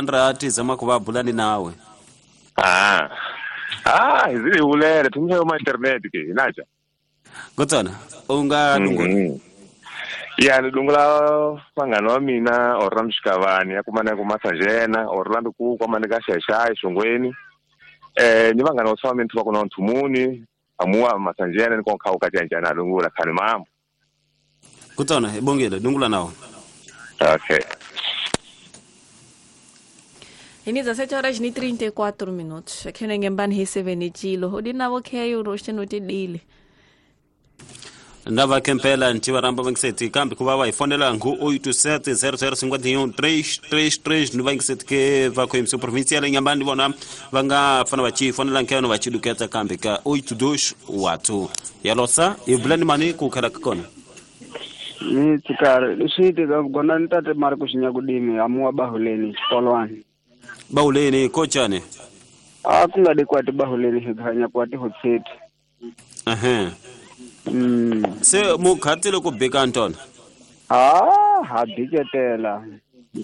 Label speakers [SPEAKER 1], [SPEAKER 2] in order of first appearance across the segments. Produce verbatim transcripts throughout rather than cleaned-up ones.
[SPEAKER 1] Sandra tizama ku va bulani nawe.
[SPEAKER 2] Ah. Ah, izili ulele tumsha ma internet ke inacha.
[SPEAKER 1] Gotsana, unga dungula.
[SPEAKER 2] Ya ni dungula vangani wa mina Orlando Xikavani ya kumana ku Masajena, Orlando ku kwamane ka Xaxai Xongweni. Eh ni vangani wa swa mina va kona Nthumuni, amuwa Masajena ni konka ka janjana dungula khani mambo.
[SPEAKER 1] Gotsana, ibongile dungula nawo.
[SPEAKER 2] Okay.
[SPEAKER 3] Ini dezessete horas e trinta e quatro minutos. Aqui no Ngembani recebendo o dinavo que é o rosto no tidile.
[SPEAKER 1] Ndava kempela ntivaramba vangiseti kambe ku va va hi fonela ngu oito sete zero zero cinquenta e um três três três no vangiseti ke va ko imso provincial Inhambane vona va nga fana va chi fonela nkeno va chiduketa kambe ka oito dois oito ya losa e bulani mani ku khala kona
[SPEAKER 4] ni tsikare leswi tika gona ntate Marco Xinyakudimi amuwa bahuleni xikolwani
[SPEAKER 1] bahuleni kochane
[SPEAKER 4] a ku nga dikwati bahuleni higanya kwati hotseti
[SPEAKER 1] ehe. Mm. Se mukhatile ku bika ntona
[SPEAKER 4] ah ha biketela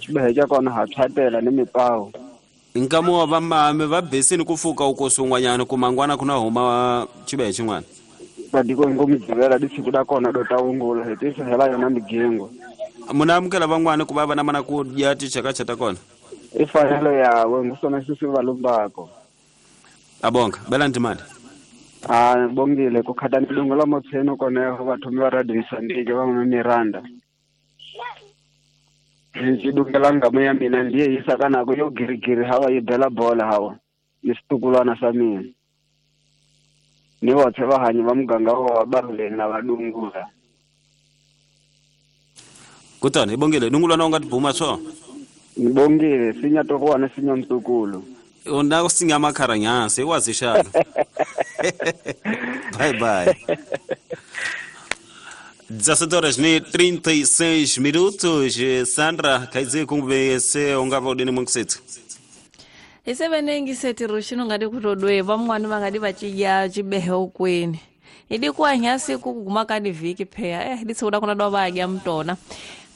[SPEAKER 4] xibehe kona ha thatela ni mipawu
[SPEAKER 1] nkamu wa vamame va besini ku fuka uko sungwanyana ku mangwana kuna huma xibehe xin'wana
[SPEAKER 4] badiko ngomdzivela disiku da kona do tawungula hi tisa hela yona migengo
[SPEAKER 1] muna amukela van'wana ku va va na mana ku dya tichakacha ta kona
[SPEAKER 4] i fanelo yawe ngusona sisi valumbako
[SPEAKER 1] abonga bela ntimali.
[SPEAKER 4] Ah bongile ku khata ndungo la motsheno kona go batho ba radio Mozambique ba mo Miranda ndzi dungela ngamo ya mina ndiye yisa kana go yo girigiri hawa yi bela bola hawa ni situkulwana sa mina ni vothe vahanyi va muganga wa bahuleni na vadungula.
[SPEAKER 1] Kutani ibongile dungulwana u nga tibuma swo
[SPEAKER 4] ngibongile sinya tokuwana sinya mtukulu
[SPEAKER 1] onda kusinga makharanyasi wazishana. Bye bye. dezessete horas e trinta e seis minutos. Sandra, quer dizer como você ungava udini mungiseti?
[SPEAKER 3] Isebenengi seti rushino ngadi kutodwe vamwani vangadi vachidya chibehe ukweni. Idi kuanyasi kuguma kadi viki pheya eh ditsuda kuna do vadya mtona.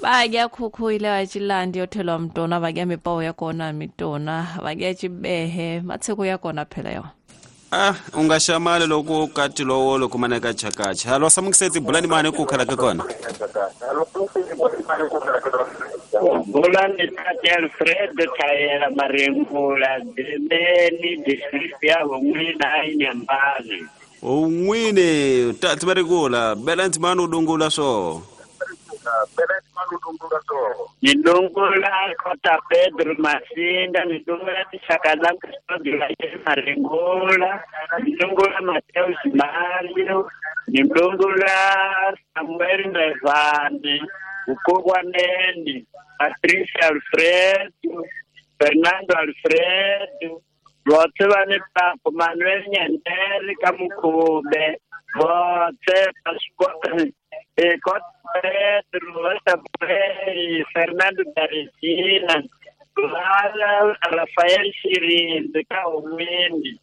[SPEAKER 3] Vadya khukhu ile vachilandi yothelwa mtona vadya mipawu ya kona mitona vadya chibehe matseko ya kona phela yo.
[SPEAKER 1] Ah ungashamale loko kati lowo loko maneka chakacha. Halo samungiseti bulani mane ku khala ka kona.
[SPEAKER 5] Bulani tate Alfredo Tayela Marengula Demeni district ya Hongwina Inhambane.
[SPEAKER 1] Ongwine tate Marengula belanti manu dungula so.
[SPEAKER 5] Nidungula kota Pedro Masinda, nidungula Tishakala Cristóbal Marengula, nidungula Mateus Mario, nidungula Samuel Ndevane, Ukogwaneni, Patricia Alfredo, Fernando Alfredo, votse vane papo Manuel Nyandere Kamukube, votse Pascoal Pedro, Samuel, Fernando Daresina, Rafael Shirinzi Kaumini,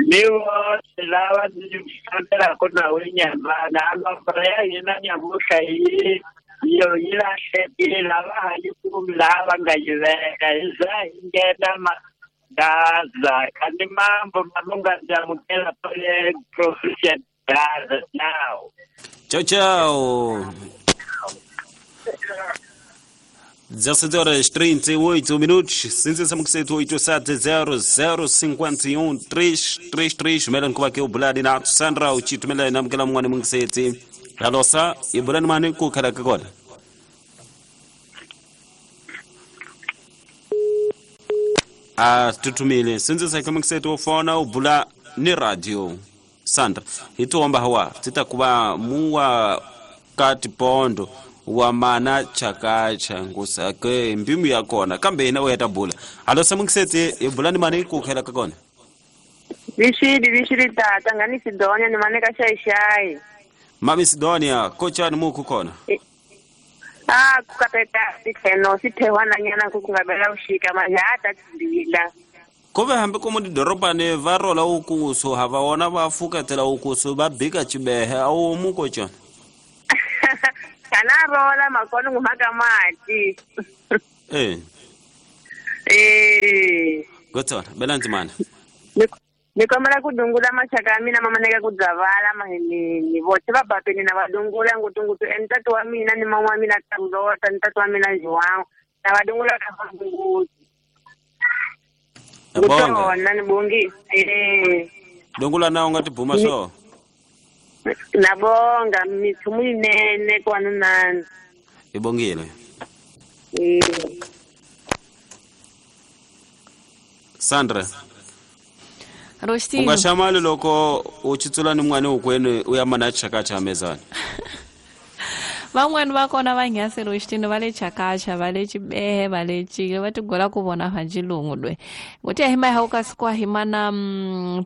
[SPEAKER 5] Miwo Silawa Ndifambela kona Inhambane, amabreya yina nyamuhla yi yo yi lahlekile lava yi kumi laha va nga yi veka hi za hi nghena Gaza kandi mambo malunga ndamukela pale provincial Gaza now.
[SPEAKER 1] Tchau, tchau. dezessete horas trinta e oito minutos. cinco oito sete zero zero cinquenta e um três três três. Melan kuba ke ubulani na Sandra uchitu mela na mkela mwana mungiseti. Halosa ibulani mane ku khala ka kona. Ah tutumile. Cinco fona ubula ni radio. Sandra ituomba hawa titakuba muwa kati pondo wa mana chakacha ngusake mbimu yakona kambe ina weta bula alo samungiseti ibulani mane ku khela ka kona
[SPEAKER 6] Vishidi vishidi tata ngani Sidonia ni mane ka shai shai
[SPEAKER 1] Mami Sidonia kocha ni muku kona
[SPEAKER 6] Ah kukapeta sitheno sithehwana nyana kukungabela ushika majata tindila
[SPEAKER 1] Kove hambi komo didorobane va rola ukuso hava wona va fuketela ukuso va bika chibehe awu mukocha
[SPEAKER 6] Kana rola makono ngumaka mati
[SPEAKER 1] Eh
[SPEAKER 6] Eh
[SPEAKER 1] Gotsona belandzimana
[SPEAKER 6] ni kombela ku dungula maxaka ya mina ma maneka ku dzavala mahinini voxe va bapeni na va dungula ngutungutu e ntati wa mina ni mama wa mina Carlota ni tati wa mina João na va dungula ka vanguti ngutona ni bongi eh
[SPEAKER 1] dungula na u nga tibuma swo
[SPEAKER 6] na bonga mithumu yinene kwananani
[SPEAKER 1] hi bongile
[SPEAKER 6] eh
[SPEAKER 1] Sandra
[SPEAKER 3] Rostino
[SPEAKER 1] u nga xamali loko u chitsula ni n'wana wukwenu u ya mana chakacha mezana
[SPEAKER 3] van'wani va kona va nghasi Rostino va le chakacha va le chibehe va le chile va tigola ku vona va xilungu lwe nguti hi maha kasi kwa hi mana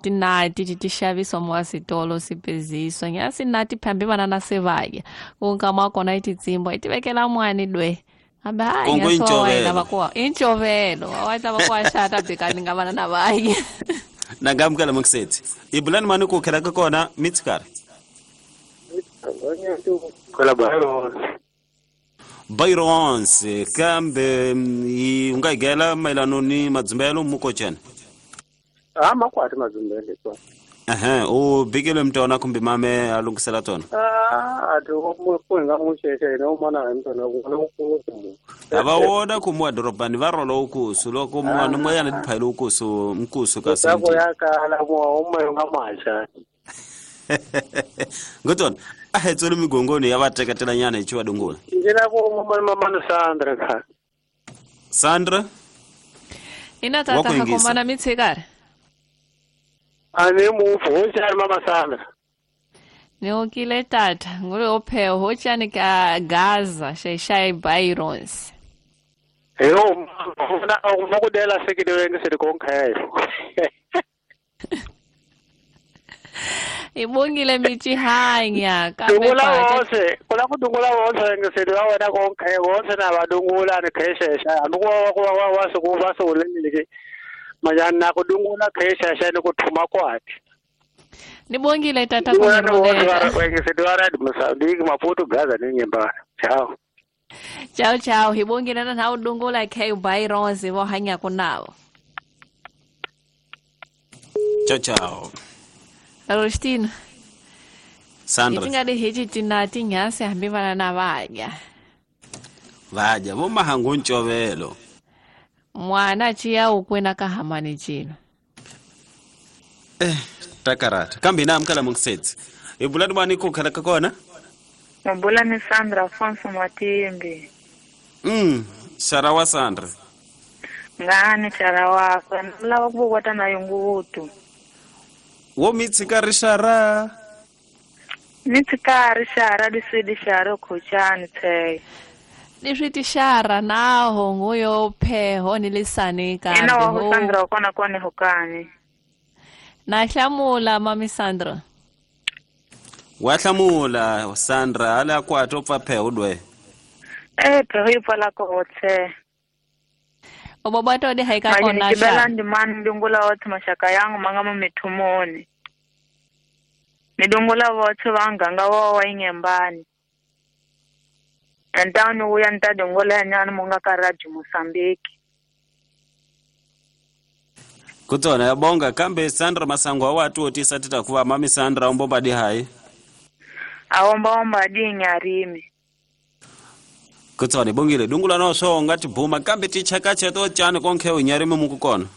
[SPEAKER 3] tinati ti ti xaviswa mo switolo sipeziswa nyasi nati phambi vana na sevaya ku nkama kona i titsimbo i tivekela mwani lwe hambi hayi nyasi wa va ku inchovelo wa ta va ku axata bikani nga vana na vayi
[SPEAKER 1] nangamukela mukiseti ibulani mani ku khela ka kona mitsikari Bayrons kambe u nga higela mayelano ni madzumbelo mukochena
[SPEAKER 7] ah makwati madzumbelo kwa
[SPEAKER 1] ehe u bikele mtona kumbe mame a lunghisela tona
[SPEAKER 7] ah ati ku nga n'wi xexe ina u mana hi mtona ku na ku
[SPEAKER 1] a va wona ku muwa dorobani va rolo ukusu loko mwana n'wanyana tiphayile ukusu mkusu kasi
[SPEAKER 7] ku ya kala muwa u ma nga maxa
[SPEAKER 1] ngotona a hi tsoli migongoni ya va teketela nyana hi chiwa dungula
[SPEAKER 7] ndzi la ku mama Sandra kha
[SPEAKER 1] Sandra
[SPEAKER 3] ina tata ha komana mitsikari
[SPEAKER 7] ani mufu hoxani mama Sandra
[SPEAKER 3] ni okile tata ngule opheho hoxani ka Gaza xexai Byrons
[SPEAKER 7] eyo na u ku dela sekidweni se konkhelo
[SPEAKER 3] ibongile michihanya kambe
[SPEAKER 7] dungula wose kula ku dungula wose ngisedi wa wena konke wose na vadungula ni kheshesha hambi ku wa ku wa wa se ku va se uleleke majana na ku dungula kheshesha ni ku thuma kwati
[SPEAKER 3] nibongile tata ku
[SPEAKER 7] ni ngisedi wa rad Mozambique Maputo Gaza ni nyembana ciao
[SPEAKER 3] ciao ciao hibongile na na udungula k Byrons vo hanya kunavo
[SPEAKER 1] ciao ciao
[SPEAKER 3] Rostino
[SPEAKER 1] Sandra
[SPEAKER 3] itingade heji tinati nyasi hambi vana na vadya
[SPEAKER 1] vadya vo mahangu ncovelo
[SPEAKER 3] mwana chiya ukwena ka hamani chino
[SPEAKER 1] eh takarata kambe na amkala mungisetsi ibulani bani ku khala ka kona
[SPEAKER 6] Mabula ni Sandra Afonso Matimbi
[SPEAKER 1] mm Sarawa Sandra
[SPEAKER 6] ngani Sarawa lava ku vota na yungutu
[SPEAKER 1] wo mitsikari xara
[SPEAKER 6] mitsikari xara disidi xara khochani tshe
[SPEAKER 3] leswi tixara naho nguyo pheho ni lisani kambe
[SPEAKER 6] ina wa Sandra kona kona hokani
[SPEAKER 3] na hlamula mami Sandra
[SPEAKER 1] wa hlamula Sandra ala kwato pfa pheho dwe
[SPEAKER 6] eh pheho yi pfala kotse
[SPEAKER 3] obobato de haika kona
[SPEAKER 6] xa ndi mani ndungula wothe maxaka yangu ma nga mo mithumoni ni dungula vothe va nganga wa wa inyembani antani uya nta dungula nyana mo nga ka Radio Mozambique
[SPEAKER 1] kutsona yabonga kambe Sandra Masango wa tu otisa tita kuva mami Sandra umbomba di hai
[SPEAKER 6] awomba omba di nyarimi
[SPEAKER 1] kutsona bongile dungula no so ngati bhuma kambe tichakacha to chani konkhe unyarimi mukukona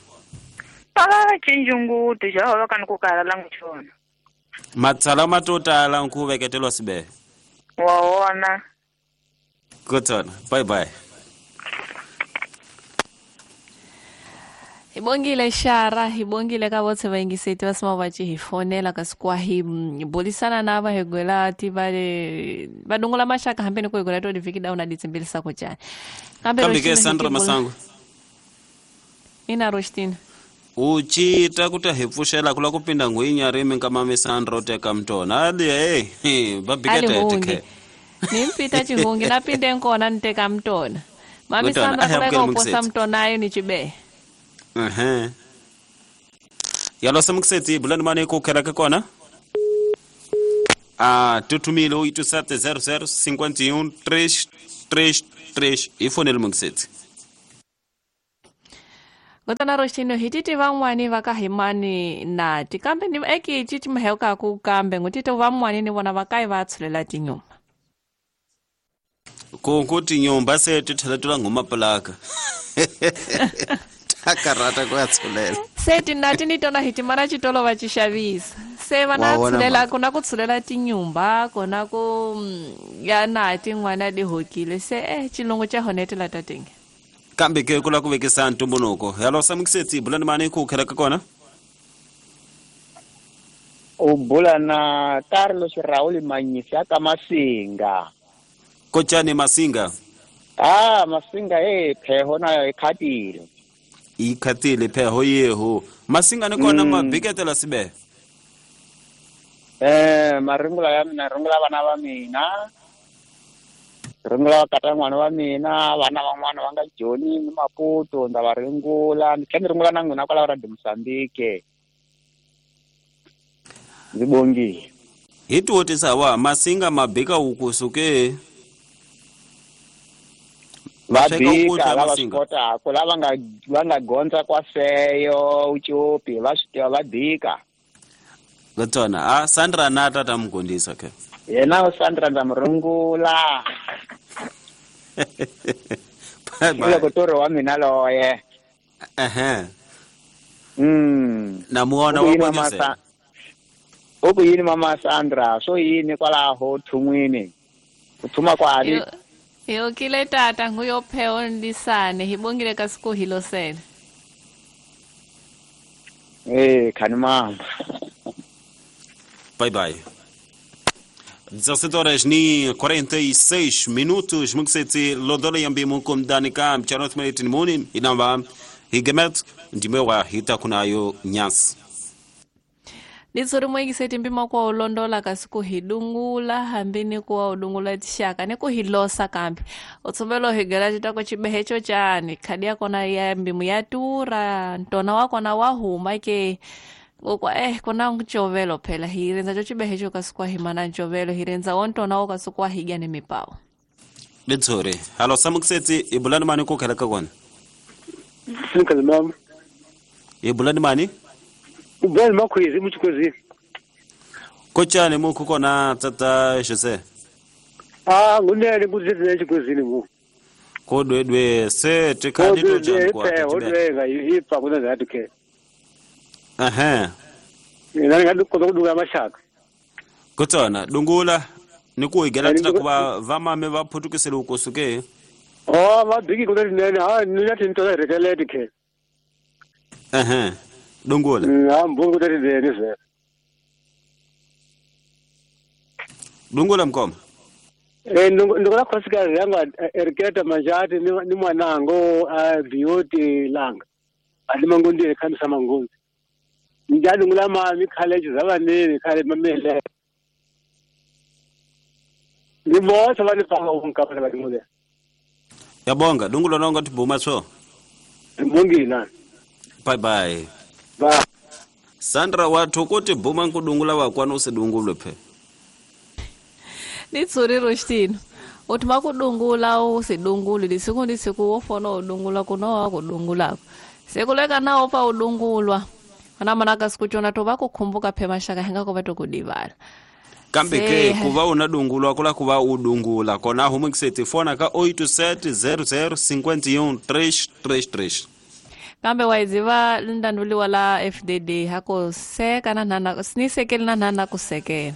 [SPEAKER 6] ah chinjungu tijawa kana kukala langu chona
[SPEAKER 1] matsala matotala nkuveketelwa sibe
[SPEAKER 6] waona
[SPEAKER 1] kutsona bye bye
[SPEAKER 3] Ibongile xara ibongile ka votse vayingiseti va sima va ci hi fonela kasi kwa hi bulisana na va hegwela ti va le va dungula maxaka hambi ni ku hegwela to divhiki da una ditsimbilisa ku cani
[SPEAKER 1] kambe kambe ke Sandra Masango
[SPEAKER 3] ina Rostino
[SPEAKER 1] u cita ku ta hi pfuxela ku la ku pinda ngwinya rimi nka mami Sandra u teka mtona ali hey va bikete ke
[SPEAKER 3] ni mpita chihungi na pinde nkona ni teka mtona mami Sandra kula ka uposa mtona ayo ni chibe
[SPEAKER 1] ehe yalo samuksetsi bulani mane ku khela ka kona ah tutumile oito sete zero zero cinquenta e um três três três e fonele muksetsi
[SPEAKER 3] Kutana roxino hi titi van'wani va ka himani nati kambe ni eki titi maheuka ku kambe ngutito van'wani ni vona va kai va tshulela tinyumba.
[SPEAKER 1] Ku ku tinyumba se ti tlhela ti la ngoma plaka. Takarata ku ya tshulela.
[SPEAKER 3] Se tinati ni tona hi timara xitolo va xi xavisa. Se vana tshulela ku na ku tshulela tinyumba kona ku ya nati n'wana di hokile se eh xilungu xa honetela tatenge.
[SPEAKER 1] Kambe ke ku la ku vekisa ntumbuluko. Hello Samuksetsi bulani mani ku khela ka kona?
[SPEAKER 8] U bula na Carlos Raul Manyisi ka Masinga.
[SPEAKER 1] Kochani Masinga?
[SPEAKER 8] Ah, Masinga eh pheho na ikhatile.
[SPEAKER 1] Ikhatile pheho yeho. Masinga ni kona mm. mabiketela sibe.
[SPEAKER 8] Eh, maringula ya mina ringula vana va mina. Ringula kata n'wana wa mina, vana van'wana va nga Joni ni Maputo nda va ringula, ni tlhela ni ringula na n'wina kwala ra Mozambique. Ndzi bongile.
[SPEAKER 1] Hi tiwotisa wa Masinga mabika ukusuke.
[SPEAKER 8] Va bika lava swi kotaka lava nga va nga gondza kwa seyo uchopi va swi tiva va bika.
[SPEAKER 1] Gatsona a Sandra na tata mugondisa ke.
[SPEAKER 8] Yena Sandra ndza murungula. Loko toro wa mina loye.
[SPEAKER 1] Ehe.
[SPEAKER 8] Mm.
[SPEAKER 1] Na muona wa kondisa.
[SPEAKER 8] U ku yini mama Sandra so yini kwalaho thun'wini u thuma kwani?
[SPEAKER 3] Yo kile tata nguyopheo ndisane hibongile kasiku hilo sele.
[SPEAKER 8] Eh khani mama.
[SPEAKER 1] Bye bye. dezessete horas ni quarenta e seis minutos mukseti lodola yambi mukum danika mchanot maitin muni inamba higemet ndimewa hitakunayo nyasi.
[SPEAKER 3] Nitsori mwengiseti mpima kwa ulondola kasiku hidungula hambini kwa udungula tishaka niku hilosa kambi utsumbelo higela chitako chibehecho chani khadia kona ya mbimu ya tura ntona wako na wahuma ke kwa eh kona nchovelo phela hirenza cho chibehecho kasiku himana nchovelo hirenza wontona wako kasiku higa ni mipao.
[SPEAKER 1] Nitsori halo Samukseti ibulani mani ku khela ka kona?
[SPEAKER 7] Sinkazi mama.
[SPEAKER 1] Ibulani mani?
[SPEAKER 7] Ubani makhwezi muchikwezi.
[SPEAKER 1] Kochani mukhu kona tata Jose?
[SPEAKER 7] Ah ngunene kuzizwe chikwezini mu.
[SPEAKER 1] Kodwedwe se tikhadi to jani kwa.
[SPEAKER 7] Kodwedwe ngayipa kuna zathi ke.
[SPEAKER 1] Ehe.
[SPEAKER 7] Mina ngadu kudunga mashaka.
[SPEAKER 1] Kotsana dungula nikuigela tita kuva vamame va phutukisele ukusuke.
[SPEAKER 7] Oh mabiki kuzinene ha ninathi into rekeleti ke.
[SPEAKER 1] Ehe. Dungula.
[SPEAKER 7] Ngihamba ukuthi ndene ze.
[SPEAKER 1] Dungula mkoma.
[SPEAKER 7] Eh ndikula khosikazi yanga eriketa manjati ni mwanango a beauty langa. Alimangondi ekhambisa mangondi. Njalo ngulama college zabanini khale mamele. Ngibotha banifaka unkapha badingule.
[SPEAKER 1] Yabonga dungula nonga tibuma so.
[SPEAKER 7] Ngibongile.
[SPEAKER 1] Bye bye.
[SPEAKER 7] Ba.
[SPEAKER 1] Sandra wathu kuti buma nkudungula wakwana usidungulwe phe.
[SPEAKER 3] Nitsuri Rostino. Uthi makudungula usidunguli lisiku ndisiku wofona udungula kunowa kudungulako. Sekuleka nawo pa udungulwa. Ana manaka sikuchona to bakukhumbuka phe mashaka henga ko batokudivala.
[SPEAKER 1] Kambe ke kuva unadungulwa kula kuva udungula kona humukiseti fona ka oito sete zero zero cinquenta e um três três três.
[SPEAKER 3] Kambe waiziva ndanduliwa la F D D hako seka na nana sinisekeli na nana kusekela.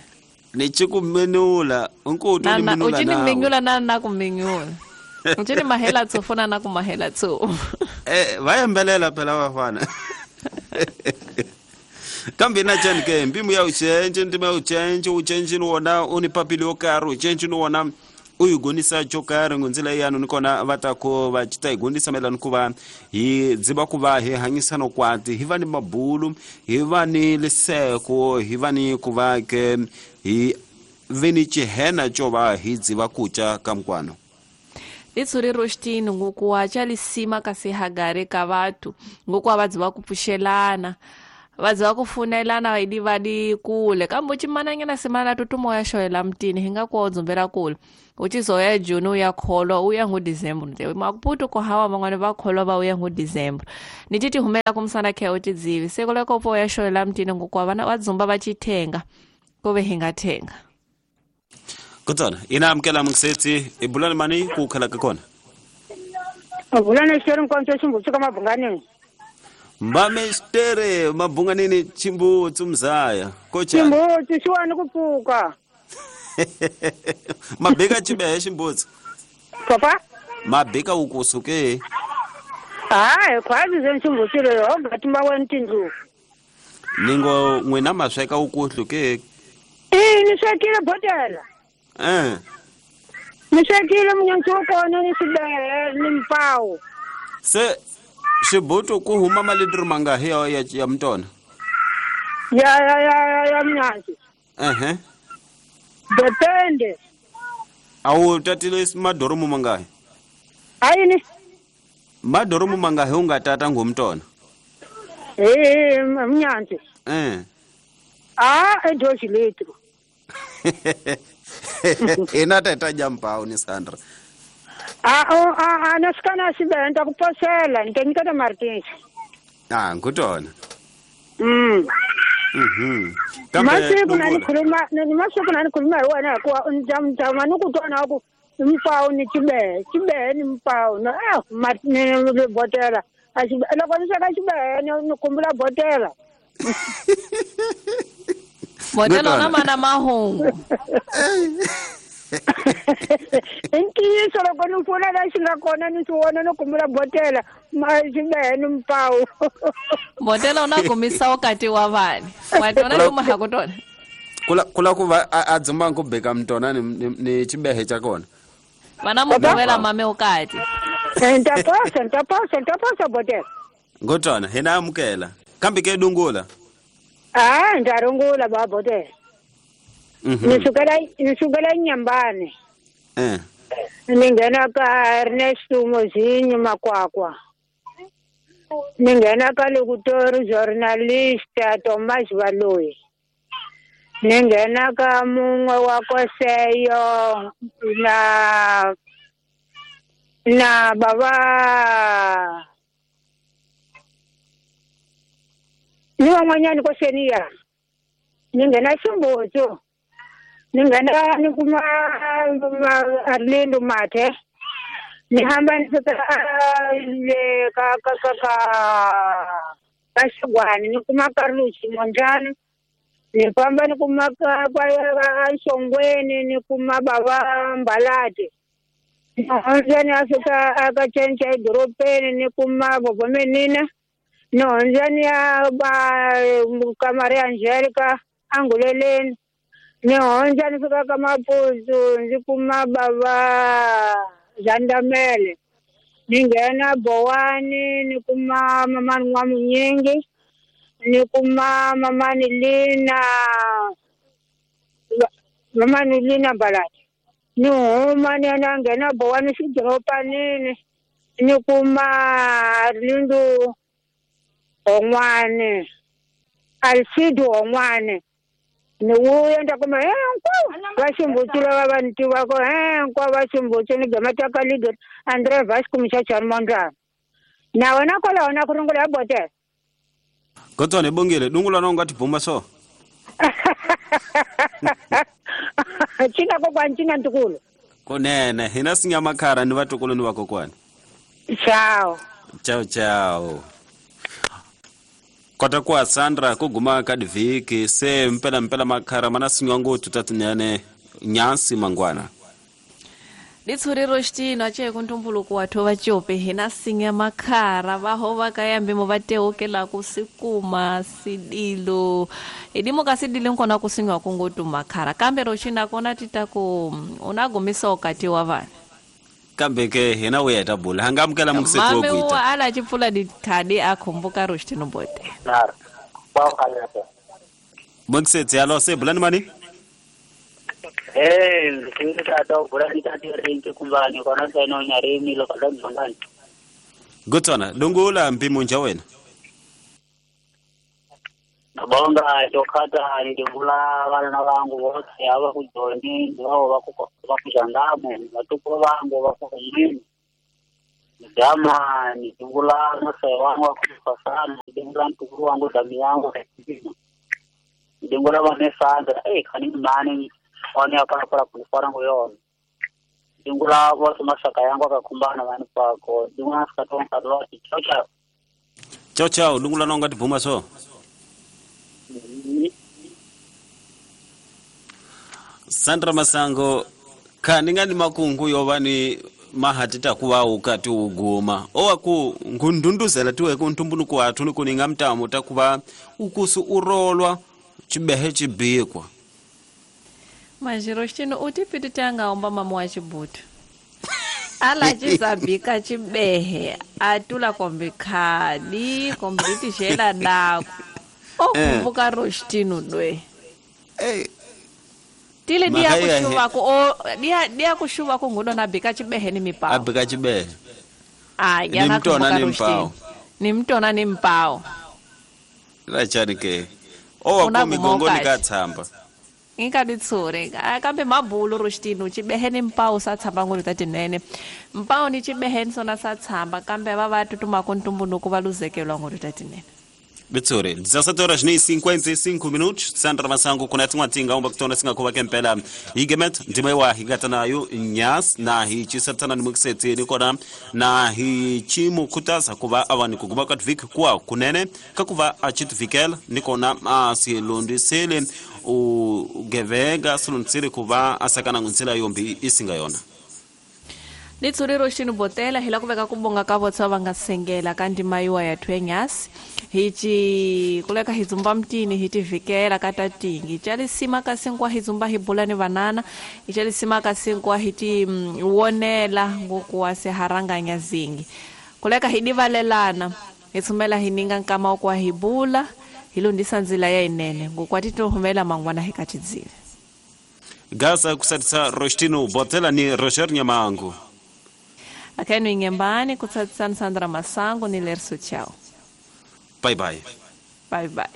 [SPEAKER 1] Nichikumenula unkutu nimenula
[SPEAKER 3] na uchini menyula na na kumenyula. Uchini mahela tsofuna na kumahela tso.
[SPEAKER 1] Eh vayembelela phela vafana. Kambe na chani ke mbimu ya uchenje ndima ya uchenje uchenje wona unipapili okaro uchenje wona uyigonisa chokari ngonzila yanu nikona vatako vachita igonisa melano kuva hi dziba kuva hi hanyisano kwati hi va ni mabulu hi va ni liseko hi va ni kuva ke hi veni chihena chova hi dziba kucha kamkwano.
[SPEAKER 3] Litsuri Rostino ngokuwa chalisima kasi hagare ka vatu ngokuwa vadziva kupushelana. Vadziva ku funelana idi vadi kule kambe uchimananyana simana tutumo ya xoyela mtini hinga ku dzumbela kule uchizoya June uya kholwa uya ngu December nte makuputu ko hawa mangwane va kholwa va uya ngu December nititi humela kumsana khe utidzivi sekoleko po ya xoyela mtini ngokwa vana vadzumba va chitenga kove hinga thenga
[SPEAKER 1] Kutsona ina amkela mungsetsi ibulani mani ku khala ka kona
[SPEAKER 9] Abulana xeri nkonzo ximbutsu ka mabunganini
[SPEAKER 1] Mbamestere mabunganini chimbutsu mzaya kocha
[SPEAKER 9] Chimbutsu xiwani ku pfuka
[SPEAKER 1] Mabeka chibehe chimbutsu
[SPEAKER 9] Papa
[SPEAKER 1] Mabeka ukusuke
[SPEAKER 9] Hayi khwazi ze chimbutsu leyo gatimba wena tindlu
[SPEAKER 1] Ningo n'wina masweka ukuhlu ke
[SPEAKER 9] Eh ni swekile botela
[SPEAKER 1] Eh
[SPEAKER 9] Ni swekile munyansi wa kona ni sibehe ni mpawu
[SPEAKER 1] Se xibutu ku huma malitri mangahi ya ya, ya mtona
[SPEAKER 9] Ya ya ya ya mnyansi
[SPEAKER 1] Ehe
[SPEAKER 9] Depende
[SPEAKER 1] Awu tatile madoromo mangahi
[SPEAKER 9] Ayini
[SPEAKER 1] Madoromo mangahi ungatata ngomtona
[SPEAKER 9] Eh mnyansi
[SPEAKER 1] Eh
[SPEAKER 9] Ah edoshi litro
[SPEAKER 1] Ina tata jampau ni Sandra
[SPEAKER 9] Ah oh ah nasikana sibe ntakuposela ntenikata Martins
[SPEAKER 1] Ah ngutona
[SPEAKER 9] Mm
[SPEAKER 1] Mhm
[SPEAKER 9] Masiku nanikhuluma masiku nanikhuluma hi wena hikuva ndama ni ku twana ku mpawu ni chibehe chibehe ni mpawu na ah ni botela a xibe loko ni sweka xibehe ni khumbula botela
[SPEAKER 3] Botela na mana mahungu
[SPEAKER 9] I ntiyiso loko ni pfula la xi nga kona ni swi vona ni khumbula botela xibehe ni mpawu
[SPEAKER 3] Botela una kumisa wakati wa vani watona kuma hakutona
[SPEAKER 1] Kula kula ku va a dzumba ku beka mtona ni ni chibehe cha kona
[SPEAKER 3] Vana muvela mame ukati
[SPEAKER 9] Ntaposa ntaposa ntaposa botela
[SPEAKER 1] Ngotona hina amukela kambe ke dungula
[SPEAKER 9] Ah ndarungula ba botela
[SPEAKER 1] Mhm
[SPEAKER 9] Ni sukela ni sukela Nyambane
[SPEAKER 1] Eh
[SPEAKER 9] Ni nghena ka Ernesto Mozinho Makwakwa Ni nghena ka locutor journalista Thomas Baloyi Ni nghena ka mun'we wa Koseyo na na baba ni van'wanyani koseniya ni nghena Ximbutsu ni nghena ni kuma Arlindo Mathe ni hamba ni fika le ka ka ka ka ka Xigwani ni kuma Carlos Monjani ni famba ni kuma ka ka Xongweni ni kuma baba Mbalati ni hundza ni ya fika aka Cenca edorobeni ni kuma Bobo Menina ni hundza ni ya ba ka Maria Angelica Anguleleni ni hundza ni fika ka Mapuzu ndzi kuma baba Zandamele ni nghena Bowani ni kuma mamani N'wamunyingi ni kuma mamani Lina mamani Lina Mbalati ni huma ni ya nghena Bowani xidoropanini ni kuma Arlindo Hongwane Alcido Hongwane ni wuya nda kuma hinkwavo va Ximbutsu lava va ni tivaka hinkwavo va Ximbutsu ni gama ka leader Andre Vasco Mchachani Mondlane na wena kwalaho na ku rungula ya botela
[SPEAKER 1] Gotswana ibongile dungula na unga tibuma so
[SPEAKER 9] Cina kokwani cina ntukulu
[SPEAKER 1] Kunene hina sinyamakhara ni vatukulu ni vakokwani
[SPEAKER 9] Ciao
[SPEAKER 1] Ciao ciao Kota kwa Sandra kuguma ka divhiki se mpela mpela makhara mana sinywa ngothu tatinene nyansi mangwana
[SPEAKER 3] Litshuriro xitino ache kuntumbuluko wathu va cope hina sinya makhara va ho va ka yambimo va teokela ku sikuma sidilo idimo ka sidilo nkona ku sinywa ku ngotu makhara kambe ro xina kona tita ku una gumisa ukati wa vana
[SPEAKER 1] Kambe ke hina uya ta bula hanga amukela muksetsi wo
[SPEAKER 3] Mame
[SPEAKER 1] kuita
[SPEAKER 3] wa ala chipfula dithadi a khumbuka ro xitino bote
[SPEAKER 1] Muksetsi alo se bulani mani
[SPEAKER 5] Eh ngitata ubula nitati rinki kumbani kona tseno nyarimi lo kala mzongani
[SPEAKER 1] Gotswana dungula mpimo nja wena
[SPEAKER 5] Bonga tokata ndivula vana vangu vose ava kujoni vavo vakuzhandamu vatukuru vangu vakuhumini gama nidungula masai wangu wakufasana nidungula mtukuru wangu dami yangu nidungula vanesandra eh kani mani wani apana kulifara nguyona nidungula vose masaka yangu akakumbana vani pako nidungula sikatonka loti chao chao
[SPEAKER 1] chao chao dungula nonga tibvuma so Sandra Masango kani ngani makungu yovani mahatita kuva ukati uguma owaku ngundunduzela tiwe kuntumbunuku wathu nikuninga mtamu takuva ukusu urolwa chibehe chibikwa
[SPEAKER 3] majiro chino utipiti tangaomba mama wa chibutu ala chizabika chibehe atula kombe khadi kombe tishela dako okumbuka rostino dwe
[SPEAKER 1] eh
[SPEAKER 3] tile dia kushuva ku o dia dia kushuva ku ngudo na bika chibehe ni mipao
[SPEAKER 1] abika chibehe
[SPEAKER 3] ah
[SPEAKER 1] ni mtona ni mpao
[SPEAKER 3] ni mtona ni mpao
[SPEAKER 1] la chani ke owa ku migongoni ka tsamba
[SPEAKER 3] ngikaditsure kambe mabulu rostino chibehe ni mpao sa tsamba ngulu tatinene mpao ni chibehe nsona sa tsamba kambe va va tutuma ku ntumbunuku va luzekelwa ngulu tatinene
[SPEAKER 1] Bitsore, dezassete horas nem cinquenta e cinco minutos. Sandra Masango kunati mwatinga umba kutona singa kuva kempela higemet ndimewa higata nayo nyas na hichisatana ni mukiseti nikona na hichimu kutasa kuva awani kuguma katvik kuwa kunene kakuva achitufikel nikona asilundisele ugevega silundisele kuva asakana ngunsela yombi isinga yona.
[SPEAKER 3] Litsuriro xinu botela hila kuveka kubonga ka votsa va nga sengela ka ndima yiwa ya thwenyasi hichi kuleka hizumba mtini hitivikela ka tatingi chalisima ka sinkwa hizumba hibula ni vanana ichalisima ka sinkwa hiti mm, wonela ngokuwa seharanganya zingi kuleka hidivalelana hitsumela hininga nkama kwa hibula hilundisa nzila ya inene ngokwatitohumela mangwana hikatidzile
[SPEAKER 1] Gaza kusatisa Rostino Botela ni Roger Nyamangu.
[SPEAKER 3] Akenu ingembani kutsatsan Sandra Masango ni Lerso chao.
[SPEAKER 1] Bye bye.
[SPEAKER 3] Bye bye.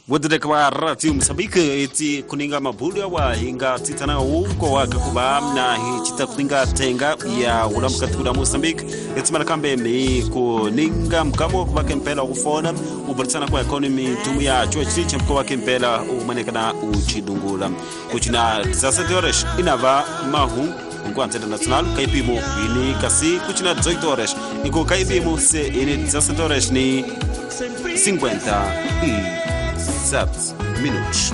[SPEAKER 1] Wodere kwa rati Mozambique eti kuninga mabulu wa inga titana uko wakakuba na hichita kuninga tenga ya ulamukati kuda Mozambique eti marakambe mi kuninga mkamo kwa kempela kufona ubalitsana kwa economy tumu ya chuo chiche mko wa kempela umanekana uchidungula kuchina dezassete horas inava mahu enquanto internacional kaipimo ini kasi kuchina dezoito horas iko kaipimo se ini dezassete horas ni cinquenta e sete minutos.